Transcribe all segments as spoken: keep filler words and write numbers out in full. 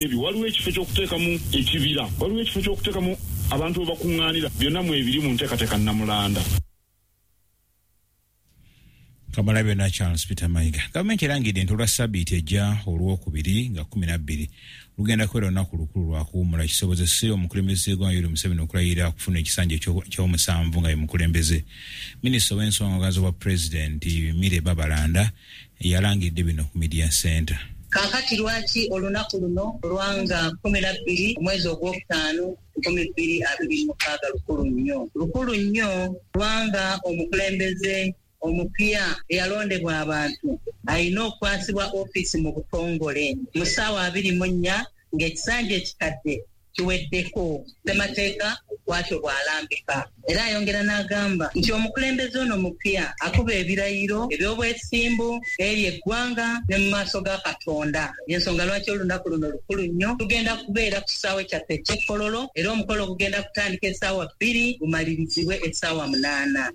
Ebyo waliwo ekifo ky'okuteekamu ekibira, waliwo ekifo ky'okuteekamu abantu we bakuŋŋaanira, byonna mwebiri mu nteekateeka Nnamulanda. Kamala byonna Charles Peter Mayiga. Gavumenti erangidde nti olwa ssabbiiti ejja olwokubiri nga kkumi na bbiri lugenda kubeera olunaku lukulu lwa kuwummula kisobozese omukulembeze w'eggwanga Yoweri Museveni okulayira okufuna ekisanja eky'omusanvu nga ye mukulembeze. Minisita ow'ensonga z'obwa pulezidenti Milly Babalanda yalangiridde bino ku Media Center. Kaakati lwaki olunaku luno olwanga kkumi na bbiri omwezi ogwokutaano nkumi bbiri abiri mu mukaaga lukulu nnyo? Lukulu nnyo kubanga omukulembeze omupya eyalondebwa abantu alina okukwasibwa ofiisi mu butongole mu ssaawa abiri mu nnya ng'ekisanja ekikadde kiweddeko. Ssemateeka bw'atyo bw'alambika. Era ayongera n'agamba nti omukulembeze ono mupya akuba ebirayiro eby'obwesimbu eri eggwanga ne mu maaso ga Katonda. Y'ensonga lwaki olunaku luno lukulu nnyo. Tugenda kubeera ku kisaawe kyaffe eky'e Kololo era omukolo gugenda kutandika essaawa bbiri gumalirizibwe essaawa munaana.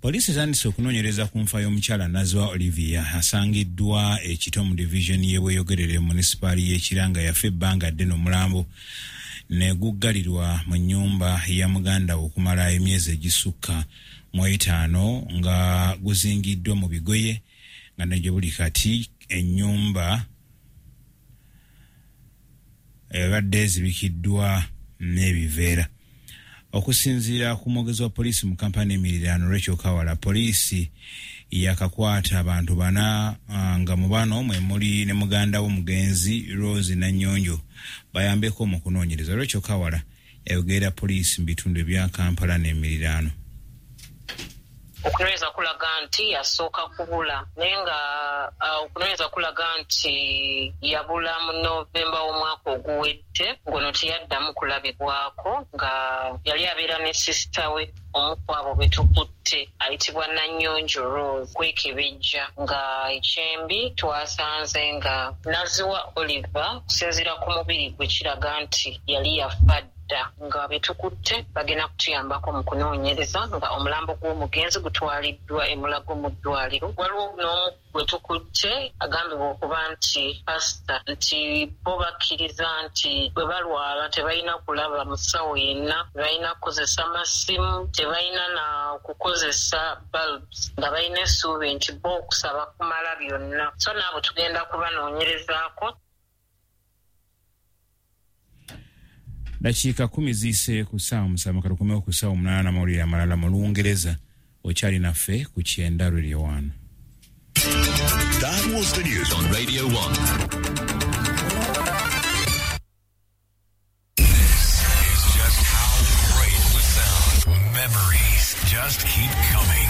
Poliisi etandise okunoonyereza ku nfa y'omukyala Naziwa Olivia asangiddwa ekito mu divizoni y'e Bweyogerere mu munisipaali y'e Kira nga yafa ebbanga ddene, omulambo ne guggalirwa mu nnyumba ya muganda we okumala emyezi egisukka mu etaano nga guzingiddwa mu bigoye, nga ne gye buli kati ennyumba ebadde ezibikiddwa n'ebiveera. Okusinziira ku mwogezi wa poliisi mu Kampala emiriraano Rachel Kawala, poliisi yakakwata abantu bana, nga mu bano mwe muli ne muganda w'omugenzi Rose Nanyonjo bayambeko mu kunoonyereza. Rachel Kawala yayogerera poliisi mu bitundu ebya Kampala n'emiriraano. Okunoonyereza kulaga nti yasooka kubula, naye nga uh, okunoonyereza kulaga nti yabula mu Novemba w'omwaka oguwedde, ng'ono teyaddamu kulabibwako, nga yali abeera ne sisita we. Omu ku abo be tukutte ayitibwa Nanyonjo Rose. Kwekebejja nga ekyembi twasanze nga Naziwa Oliver, okusinziira ku mubiri gwe, kiraga nti yali yafa dda, nga betukutte bagenda kutuyambako mu kunoonyereza, nga omulambo gw'omugenzi gutwaliddwa e Mulago mu ddwaliro. Waliwo n'omu gwe tukutte agambibwa okuba nti pasita, nti bo bakkiriza nti bwe balwala tebalina kulaba musawo yenna, tebalina kukozesa masimu, tebalina na kukozesa bulbs, nga balina essuubi nti bo okusaba kumala byonna. So naabo tugenda kubanoonyerezaako. Dakiika kumi ziyise ku ssaawa musanvu, katukomewo ku ssaawa omunaana n'amawulire amalala mu Lungereza. Okyali naffe ku Kyenda Radio One. That was the news on Radio one. This is just how great we sound. Memories just keep coming.